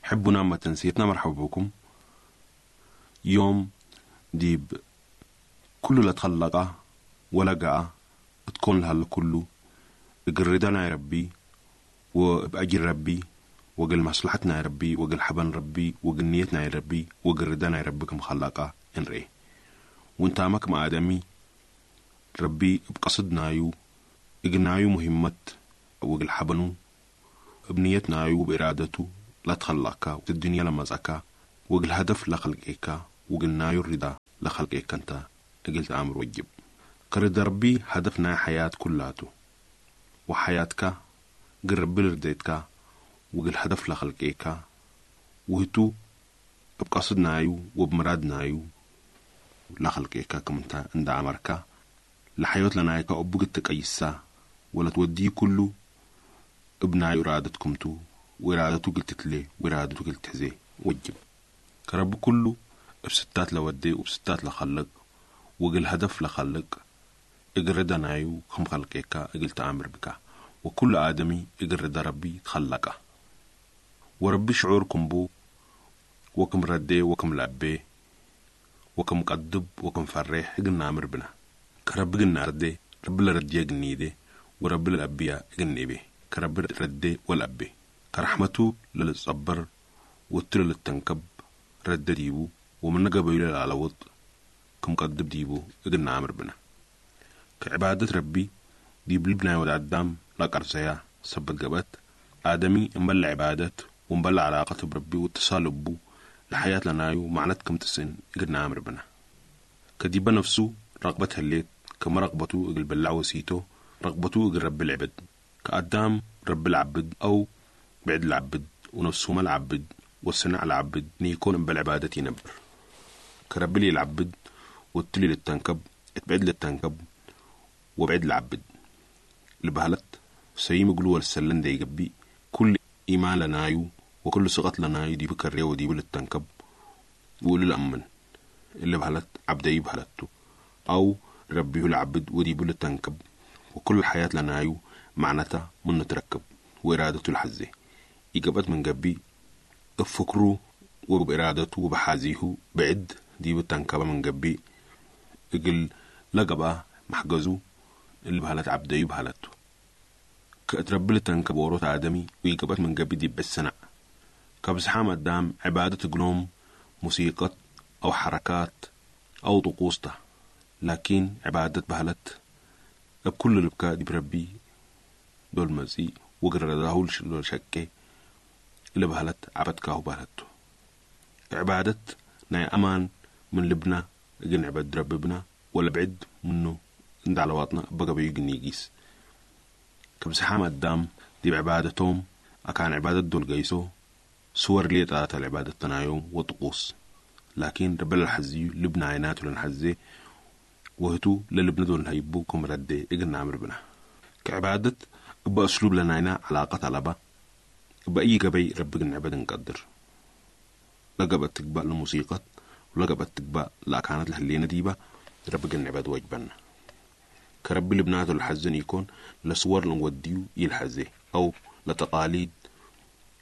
حبنا ما تنسيتنا، مرحبا بكم. يوم ديب كل لتخلقه ولقى تكون لها كله قردنا يا ربي وبأجر ربي وقل مصلحتنا يا ربي وقل حبن ربي وقل نيتنا يا ربي وقل ردنا يا ربي كم خلقه انري. وانت مك آدمي ربي بقصدنا يو إقنايو مهمة وقل حبنو بنيتنا يو بإرادته لا تخلقك الدنيا لما زكا وقل هدف لخلقك وقلنا الرضا لخلقك انت قلت أمر وجب. كرد ربي هدفنا حياة كلاته وحياتك قرب لرديتك وقل هدف لخلقك وهتو بقصدنا يو وبمرادنا يو لخلقك كمنت عند أمرك لحيوت لنا يكا أبوك تقيسا ولا توديه كله ابنا إرادتكم تو وإرادته قلت تلي وإرادته قلت تحزي وجب. كرب كله بستات لودي وبستات لخلق وقل هدف لخلق اقرد نايو كم خلقك اقل تأمر بك. وكل آدمي اقرد ربي تخلقه. وربي شعوركم بو وكم ردي وكم لعبي وكم قدب وكم فريح قلنا أمر بنا. كرب قلنا ردي رب لردي قنيدي ورب الأبياء قنيبي كرب ردي والأبي كرحمته للصبر والتر للتنكب رد ديبو ومن قبيل على وط كم قدب ديبو قلنا أمر بنا. كعبادة ربي دي بلبنا والعدام لا قرزيا سبت قبت آدمي مبلع عبادة ومبلع علاقته بربي واتصال بو لحياة لنايو معنتكم تسن قلنا أمر بنا. كديب نفسه رغبتها الليت كما رغبته اقل بلع وسيته رغبته اقل رب العبد. كأدام رب العبد أو بعد العبد ونفسه ما العبد والصنع العبد نيكون بالعبادة ينبر. كرب لي العبد والتلي للتنكب اتبعد للتنكب وبعد العبد. لبهلت سيم قلوة السلن دي يقبي كل إيمان لنايو وكل صغت لنايو دي بكريه ودي للتنكب وقول الأمن اللي بهلت عبدي بهلته أو ربيه العبد ودي للتنكب وكل الحياة لنايو معناتها من نتركب وإرادته الحزة. إجابت من جبي افكروا وبإرادته وبحازيه بعد دي بالتنكبة من جبي إجل لقبة محجزو اللي بهلت عبدي بهلته. كأتربل التنكب وروت آدمي وإجابت من جبي دي بالسنة. كبسحام قدام عبادة جلوم موسيقى أو حركات أو طقوسته لكن عبادة بهلت بكل البكاء دي بربي دول مزي وقرر شكي اللي بهلت عبدكاه بهلته. عبادة ناي أمان من لبنا جن عباد ربنا ولا بعد منه عند على وطنا بقى بيجن يجيس. كبسحام قدام دي بعبادتهم أكان عبادة دول جيسو صور لي تلاتة العبادة تنايوم وطقوس لكن ربنا الحزي لبنا عيناته لنحزي وهتو للبنا دول هيبوكم ردي إجنا عمر بنا. كعبادة بأسلوب لنا علاقة طلبة بأي جبي رب عباد نقدر. لقبت تقبأ الموسيقى ولقبت تقبأ لا كانت لهلينا ديبة رب عباد واجبنا. كرب لبناته الحزن يكون لصور لنوديو يلحزي أو لتقاليد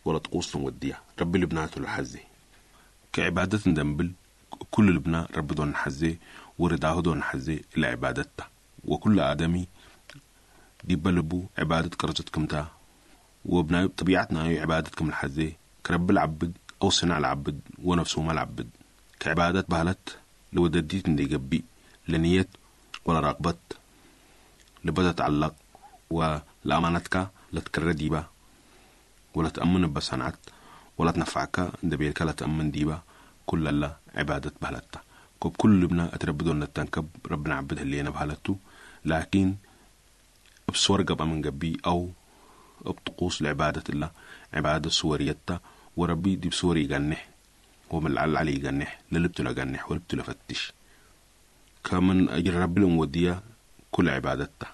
ولا طقوس نوديها رب لبناته الحزي. كعبادة ندنبل كل لبنا رب دون حزي ورداه دون حزي إلى عبادته. وكل آدمي دي بلبو عبادة كرزتكم تا وبنا طبيعتنا عبادتكم الحزي كرب العبد أو صنع العبد ونفسه ما العبد. كعبادة بهلت لو دديت ندي جبي لنية ولا رغبت لبدا تعلق ولأمانتك لا تكرر ديبا ولا تأمن بصنعت ولا تنفعك دبيرك لا تأمن ديبا كل لا عبادة بهلتا. كوب كل لبنا أتربدون التنكب ربنا عبدها اللي أنا بهلته لكن بصور قبل من جبي أو بطقوس لعبادة الله عبادة صوريتا وربي دي بصوري يجنح ومن العل علي يجنح للبتو لجنح ولبتو لفتش كمن أجر ربي المودية كل عبادته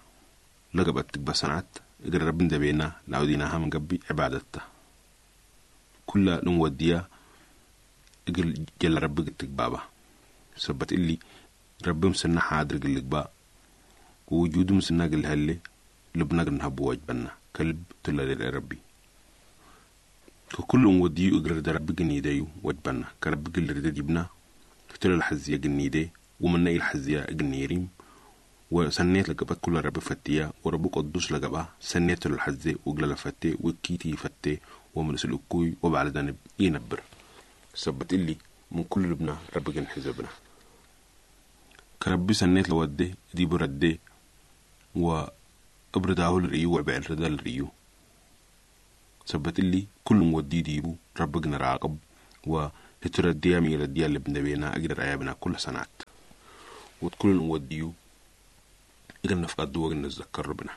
لقبت تكبا صنعت أجر ربي دبينا لعوديناها من جبي عبادته كل المودية أجر جل ربي تكبابا سبت اللي ربي مسنا حاضر قل ووجوده مسنا قل هلي لبنا قلنا بواجبنا كلب تلا ربي. ككل وديو اقرر در رب جنيديو وجبنا كرب قل ديبنا كتل الحزية جنيدي ومن الحزية جنيريم وسنيت لقبت كل رب فتيا ورب قدوس لقبا سنيت الحزي وقل فتي وكيتي فتي ومن سلوكوي وبعد ذنب ينبر. سبت اللي من كل لبنا رب جن حزبنا. كربي سنيت لودي دي بردي وابرداه الريو وعبع الردا الريو. سبت اللي كل مودي ديبو ربنا راقب وهترديا ميرديا اللي بنبينا أقدر أيابنا كل سنات. وتكل موديو إذا نفقد وقت نتذكر ربنا.